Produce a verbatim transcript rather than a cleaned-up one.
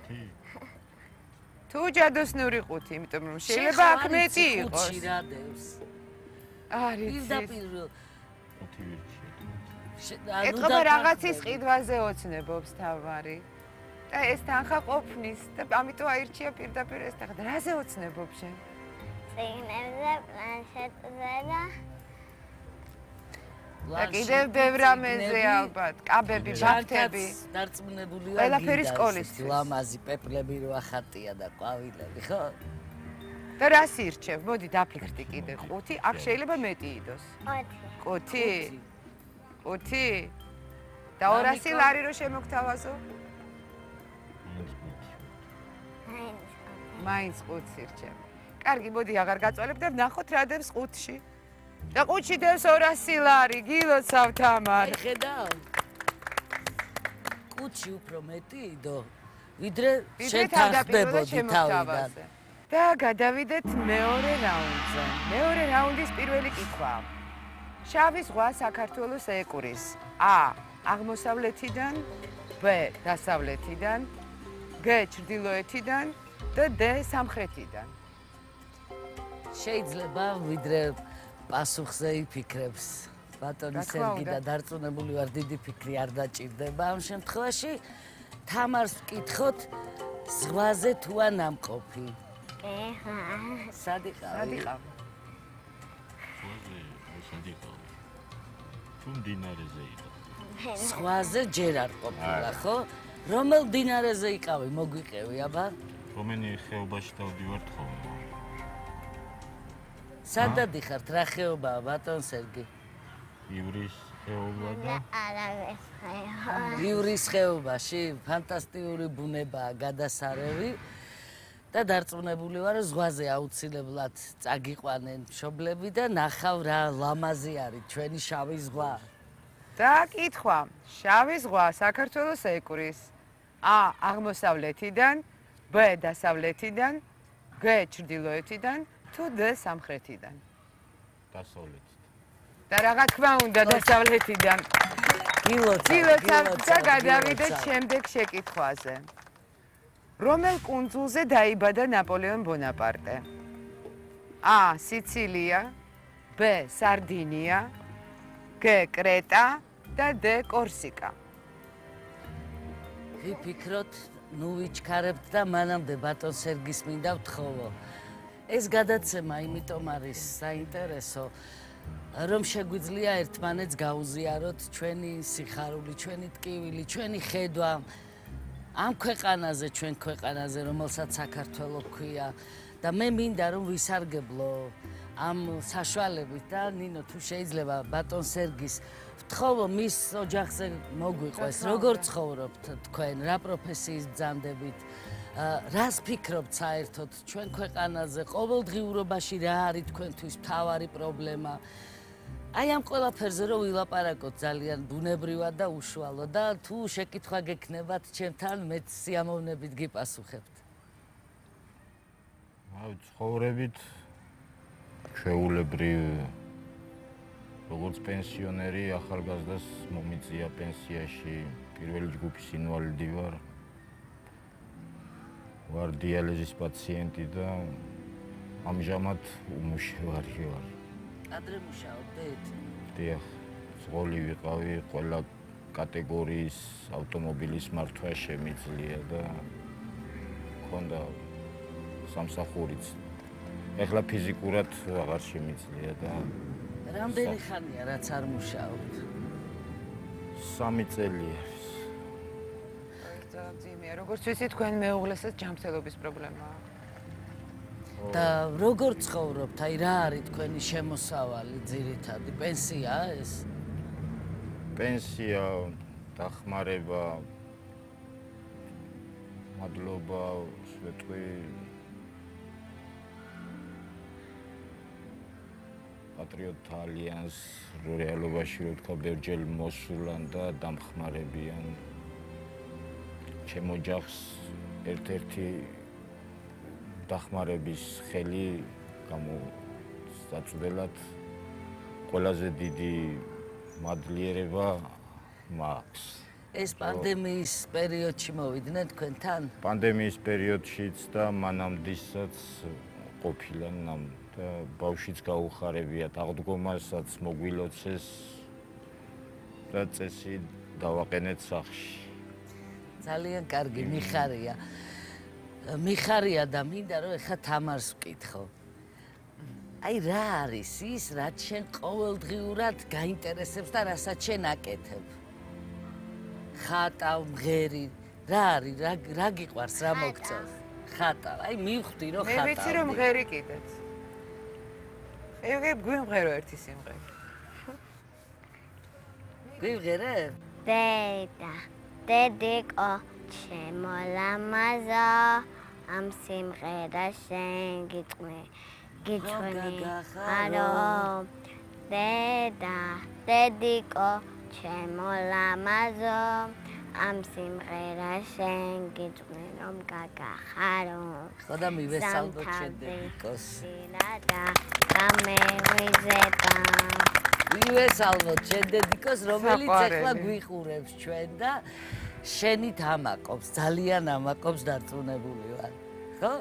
ხუთი? თუ ჯადოსნური ხუთი, იმიტომ რომ შეიძლება აქ მეტი იყოს. ხუთი რა დევს. არის. პირდაპირ ხუთი ვირჩიე. ეთქობა რაღაცის ყიდვაზე ოცნებობს თავარი. და ეს თანხა ყოფნის და ამიტომ აირჩია პირდაპირ ეს თანხა. რაზე ოცნებობ შენ? წიგნებზე, პლანშეტზე და და კიდევ ბევრ რამეზე ალბათ, კაბები, ბაფთები. დარწმუნებული ვარ. ყველაფერი სკოლისთვის. ლამაზი პეპლები რო ახატია და ყვავილები, ხო? და რას ირჩევ? მოდი დაფიქრდი კიდე ხუთი, აქ შეიძლება მეტი იდოს. ოთხი. ხუთი? ხუთი? და ორასი ლარი რო შემოგთავაზო? მაინც ხუთს ირჩევ. კარგი, მოდი აღარ გაწვალებ და ვნახოთ რა დევს ხუთში. და ხუთში დევს ორასი ლარი, გილოცავ თამარ. ხედავ. ხუთში უფრო მეტი იდო, ვიდრე შენ თანხდებოდი თავიდან. და გადავიდეთ მეორე რაუნდზე. მეორე რაუნდის პირველი კითხვა. შავი ზღვა საქართველოს ეკვრის. A. აღმოსავლეთიდან, B. დასავლეთიდან, G. ჩრდილოეთიდან და D. სამხრეთიდან. შეიძლება ვიდრე პასუხზე იფიქრებს. ბატონი სერგი და დარწმუნებული ვარ დიდი ფიქრი არ დაჭირდება ამ შემთხვევაში. თამარს ვკითხოთ ზღვაზე თუ არ ნამყოფი. ეხა. სად იყავი? სად იყავ? სად იყავ? თუ მდინარეზე იყავ. ზღვაზე ჯერ არ ყოფილა, ხო? რომელ მდინარეზე იყავი, მოგვიყევი, აბა? რომენი ხეობაში დავდივართ ხოლმე. სად დადიხართ, რა ხეობაა, ბატონ სერგი? ივრის ხეობა და არავის ხეობა. ივრის ხეობაში, ფანტასტიკური ბუნებაა, გადასარევი. და დარწმუნებული ვარ, ზღვაზე აუცილებლად წაგიყვანენ მშობლები და ნახავ რა ლამაზი არის ჩვენი შავი ზღვა. და კითხვა, შავი ზღვა საქართველოს ეკვრის. A. აღმოსავლეთიდან, B. დასავლეთიდან, G. ჩრდილოეთიდან თუ D. სამხრეთიდან. დასავლეთიდან. და რა თქმა უნდა დასავლეთიდან. გილოცავ და გადავიდეთ შემდეგ შეკითხვაზე. რომელ კუნძულზე დაიბადა ნაპოლეონ ბონაპარტე? A. სიცილია, B. სარდინია, G. კრეტა და D. კორსიკა. ვიფიქროთ, ნუ ვიჩქარებთ და მანამდე ბატონ სერგის მინდა ვთხოვო. ეს გადაცემა იმიტომ არის საინტერესო, რომ შეგვიძლია ერთმანეთს გაუზიაროთ ჩვენი სიხარული, ჩვენი ტკივილი, ჩვენი ხედვა ამ ქვეყანაზე, ჩვენ ქვეყანაზე, რომელსაც საქართველო ქვია და მე მინდა რომ ვისარგებლო ამ საშუალებით და ნინო თუ შეიძლება ბატონ სერგის ვთხოვო მის ოჯახზე მოგვიყვეს, როგორ ცხოვრობთ თქვენ, რა პროფესიის ბრძანდებით, რას ფიქრობთ საერთოდ ჩვენ ქვეყანაზე, ყოველდღიურობაში რა არის თქვენთვის მთავარი პრობლემა. აი ამ ყველაფერზე რომ ვილაპარაკოთ ძალიან ბუნებრივად და უშუალოდ და თუ შეკითხვა გექნებათ ჩემთან მეც სიამოვნებით გიპასუხებთ. აი ცხოვრებით ჩვეულებრივ როგორც პენსიონერი ახალგაზრდას მომიწია პენსიაში პირველი ჯგუფის ინვალიდი ვარ. ვარ დიალიზის პაციენტი და ამჟამად უმუშევარი ვარ. ადრე მუშაობდით? დიახ, ზღოლი ვიყავი, ყველა კატეგორიის ავტომობილის მართვა შემიძლია და მქონდა სამსახურიც. ეხლა ფიზიკურად აღარ შემიძლია და რამდენი ხანია რაც არ მუშაობთ? სამი წელი არის. ძიმია, როგორც ვიცი თქვენ მეუღლესაც ჯანმრთელობის პრობლემაა. და როგორ ცხოვრობთ? აი რა არის თქვენი შემოსავალი ძირითადი? პენსიაა ეს? პენსია, დახმარება, მადლობა, სვეტყვი პატრიოტთა ალიანს რეალობაში რო თქვა ბერჯელ მოსულან და დამხმარებიან ჩემ ოჯახს ერთ-ერთი დახმარების ხელი გამოსაწვდელად ყველაზე დიდი მადლიერება მაქვს ეს პანდემიის პერიოდში მოვიდნენ თქვენთან? პანდემიის პერიოდშიც და მანამდესაც ყოფილან ამ და ბავშვიც გაუხარებიათ აღდგომასაც მოგვილოცეს და წესი დავაყენეთ სახლში. ძალიან კარგი, მიხარია. მიხარია და მინდა რომ ეხა თამარს ვკითხო. აი რა არის ის, რაც შენ ყოველდღიურად გაინტერესებს და რასაც შენ აკეთებ? ხატა, მღერი, რა არის, რა რა გიყვარს, რა მოგწონს? ხატა. აი მივხვდი რომ ხატა. მე ვიცი რომ მღერი კიდეც. ეგ გვიმღერო ერთი სიმღერა. გვიმღერებ? დედა, დედიკო, ჩემო ლამაზო, ამ სიმღერას შენ გიწყმე, გიწყვნი, არო. დედა, დედიკო, ჩემო ლამაზო, ამ სიმღერას შენ გიწყვნი, რომ გაგახარო. ხო და მივესალმოთ შენ დედიკოს. და გამევიზება. მივესალმოთ შენ დედიკოს, რომელიც საყვარელი. ახლა გვიხურებს ჩვენ და შენით ამაკობს, ძალიან ამაკობს, დარწმუნებული ვარ.